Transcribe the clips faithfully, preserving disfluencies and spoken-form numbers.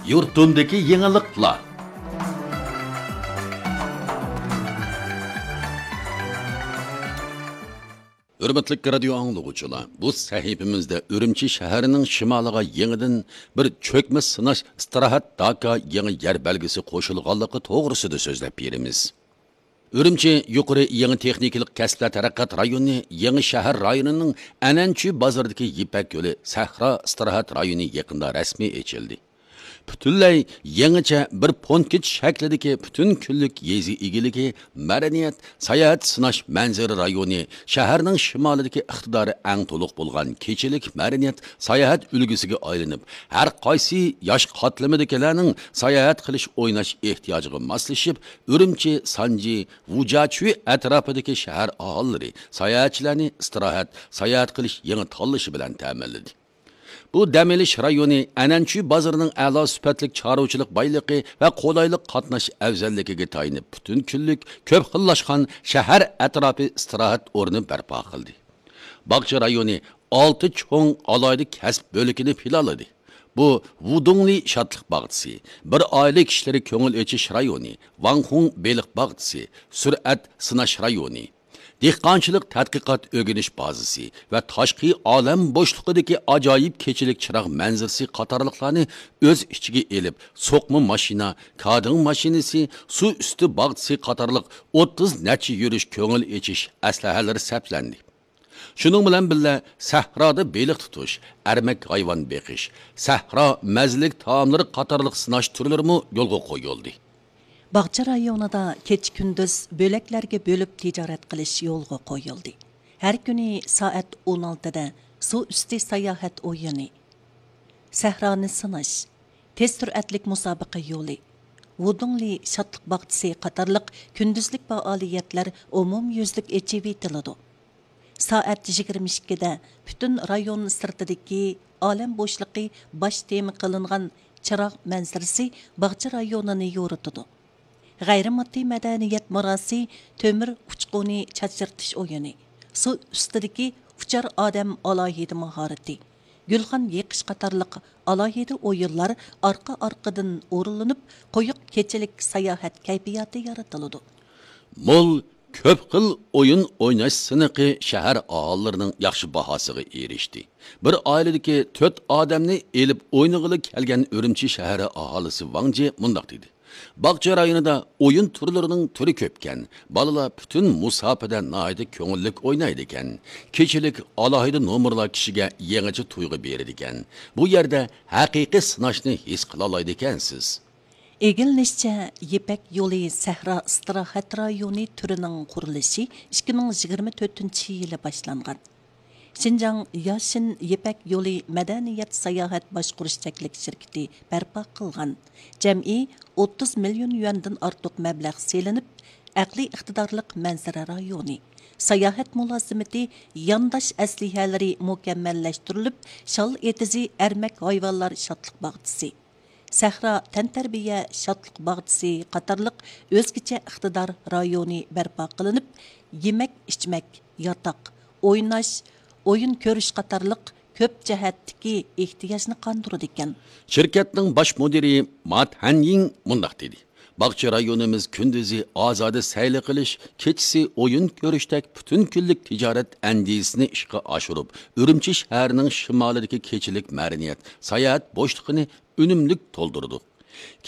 يۇرتۇمدىكى يېڭىلىقلار. ھۆرمەتلىك رادىيو ئاڭلىغۇچىلار، بۇ سەھىپىمىزدە ئۈرۈمچى شەھىرىنىڭ شىمالىغا يېڭىدىن بىر چۆكمە سىناش ئىستىراھەت داكا يېڭى يەر بەلگىسى قوشۇلغانلىقى توغرىسىدا سۆزلەپ بېرىمىز. ئۈرۈمچى يۇقىرى يېڭى تېخنىكىلىق كەسىپلەر تەرەققىيات رايونى يېڭى شەھەر رايونىنىڭ ئەنەنچۈ بازىرىدىكى يىپەك يولى سەھرا ئىستىراھەت رايونى يېقىندا رەسمىي ئېچىلدى. پۈتۈنلەي يېڭىچە بىر پونكىت شەكلىدىكى پۈتۈن كۈنلۈك يېزا ئىگىلىكى، مەدەنىيەت، ساياھەت سىناش مەنزىرە رايونى شەھەرنىڭ شىمالىدىكى ئىقتىدارى ئەڭ تولۇق بولغان كېچىلىك مەدەنىيەت ساياھەت ئۈلگىسىگە ئايلىنىپ، ھەر قايسى ياش قاتلىمىدىكىلەرنىڭ ساياھەت قىلىش ئويناش ئېھتىياجىغا ماسلىشىپ، ئۈرۈمچى، سانجى، ۋۇجاچۈي ئەتراپىدىكى شەھەر ئاھالىلىرى ساياھەتچىلەرنى ئىستىراھەت، ساياھەت قىلىش يېڭى تاللىشى بىلەن تەمىنلىدى. بۇ دەم ئېلىش رايونى ئەنەنچۈ بازىرىنىڭ ئەلا سۈپەتلىك چارۋىچىلىق بايلىقى ۋە قولايلىق قاتناش ئەۋزەللىكىگە تايىنىپ، پۈتۈن كۈنلۈك كۆپ خىللاشقان شەھەر ئەتراپى ئىستىراھەت ئورنى بەرپا قىلدى. باغچە رايونى ئالتە چوڭ ئالاھىدە كەسىپ بۆلىكىنى پىلانلىدى. بۇ ۋۇدۇڭلى شادلىق باغچىسى، بىر ئائىلە كىشىلىرى كۆڭۈل ئېچىش رايونى، ۋاڭخۇڭ بېلىق باغچىسى، سۈرئەت سىناش رايونى، دېھقانچىلىق تەتقىقات ئۆگىنىش بازىسى ۋە تاشقى ئالەم بوشلۇقىدىكى ئاجايىپ كېچىلىك چىراغ مەنزىرىسى قاتارلىقلارنى ئۆز ئىچىگە ئېلىپ، سوقما ماشىنا، كادىڭ ماشىنىسى، سۇ ئۈستى باغچىسى قاتارلىق ئوتتۇز نەچچە يۈرۈش كۆڭۈل ئېچىش ئەسلىھەلىرى سەپلەندى. شۇنىڭ بىلەن بىللە، سەھرادا بېلىق تۇتۇش، ئەرمەك ھايۋان بېقىش، سەھرا مەززىلىك تائاملىرى قاتارلىق سىناش تۈرلىرىمۇ يولغا قويۇلدى. باغچە رايونىدا كېچە-كۈندۈز بۆلەكلەرگە بۆلۈپ تىجارەت قىلىش يولغا قويۇلدى. ھەر كۈنى سائەت ئون ئالتىدە سۇ ئۈستى ساياھەت ئويۇنى، سەھرانى سىناش، تېز سۈرئەتلىك مۇسابىقە يولى، ۋۇدۇڭلى شادلىق باغچىسى قاتارلىق كۈندۈزلۈك پائالىيەتلەر ئومۇميۈزلۈك ئېچىۋېتىلىدۇ. سائەت يىگىرمە ئىككىدە پۈتۈن رايون سىرتىدىكى ئالەم بوشلۇقى باش تېما قىلىنغان چىراغ مەنزىرىسى باغچە رايونىنى يورۇتىدۇ. غەيرىي ماددىي مەدەنىيەت مىراسى، تۆمۈر ئۇچقۇنى چاچرىتىش ئويۇنى، سۇ ئۈستىدىكى ئۇچار ئادەم ئالاھىدە ماھارىتى، گۈلخان يېقىش قاتارلىق ئالاھىدە ئويۇنلار ئارقا-ئارقىدىن ئورۇنلىنىپ، قويۇق كېچىلىك ساياھەت كەيپىياتى يارىتىلىدۇ. مول، كۆپ خىل ئويۇن ئويناش سىنىقى شەھەر ئاھالىلىرىنىڭ ياخشى باھاسىغا ئېرىشتى. بىر ئائىلىدىكى تۆت ئادەمنى ئېلىپ ئوينىغىلى كەلگەن ئۈرۈمچى شەھىرى ئاھالىسى ۋاڭ جى مۇنداق دېدى: باغچە رايونىدا ئويۇن تۈرلىرىنىڭ تۈرى كۆپكەن، بالىلار پۈتۈن مۇساپىدە ناھايىتى كۆڭۈللۈك ئوينايدىكەن. كېچىلىك ئالاھىدە نومۇرلار كىشىگە يېڭىچە تۇيغۇ بېرىدىكەن. بۇ يەردە ھەقىقىي سىناشنى ھېس قىلالايدىكەنسىز. ئىگىلىنىشىچە، يىپەك يولى سەھرا ئىستىراھەت رايونى تۈرىنىڭ قۇرۇلۇشى ئىككى مىڭ يىگىرمە تۆتىنچى يىلى باشلانغان. شىنجاڭ ياشىن يىپەك يولى مەدەنىيەت ساياھەت باشقۇرۇش چەكلىك شىركىتى بەرپا قىلغان. جەمئىي ئوتتۇز مىليون يۈەندىن ئارتۇق مەبلەغ سېلىنىپ، ئەقلىي ئىقتىدارلىق مەنزىرە رايونى، ساياھەت مۇلازىمىتى، يانداش ئەسلىھەلىرى مۇكەممەللەشتۈرۈلۈپ، شال ئېتىزى ئەرمەك ھايۋانلار شادلىق باغچىسى، سەھرا تەنتەربىيە شادلىق باغچىسى قاتارلىق ئۆزگىچە ئىقتىدار رايونى بەرپا قىلىنىپ، يېمەك-ئىچمەك، ياتاق، ئويناش، ئويۇن كۆرۈش قاتارلىق كۆپ جەھەتتىكى ئېھتىياجنى قاندۇرىدىكەن. شىركەتنىڭ باش مۇدىرى ما تەنيىڭ مۇنداق دېدى: باغچە رايونىمىز كۈندۈزى ئازادە سەيلە قىلىش، كېچىسى ئويۇن كۆرۈشتەك پۈتۈن كۈنلۈك تىجارەت ئەندىزىسىنى ئىشقا ئاشۇرۇپ، ئۈرۈمچى شەھىرىنىڭ شىمالىدىكى كېچىلىك مەدەنىيەت، ساياھەت بوشلۇقىنى ئۈنۈملۈك تولدۇردۇق.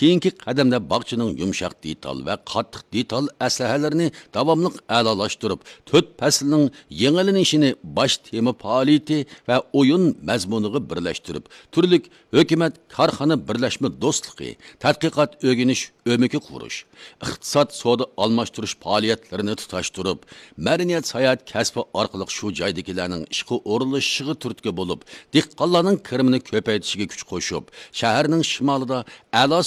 كېيىنكى قەدەمدە باغچىنىڭ يۇمشاق دېتال ۋە قاتتىق دېتال ئەسلىھەلىرىنى داۋاملىق ئەلالاشتۇرۇپ، تۆت پەسىلنىڭ يېڭىلىنىشىنى باش تېما پائالىيىتى ۋە ئويۇن مەزمۇنىغا بىرلەشتۈرۈپ، تۈرلۈك ھۆكۈمەت، كارخانا بىرلەشمە دوستلۇقى، تەتقىقات ئۆگىنىش ئۆمىكى قۇرۇش، ئىقتىساد سودا ئالماشتۇرۇش پائالىيەتلىرىنى تۇتاشتۇرۇپ، مەدەنىيەت ساياھەت كەسپى ئارقىلىق شۇ جايدىكىلەرنىڭ ئىشقا ئورۇنلىشىشىغا تۈرتكە بولۇپ، دېھقانلارنىڭ كىرىمىنى كۆپەيتىشىگە كۈچ قوشۇپ، شەھەرنىڭ شىمالىدا ئەلا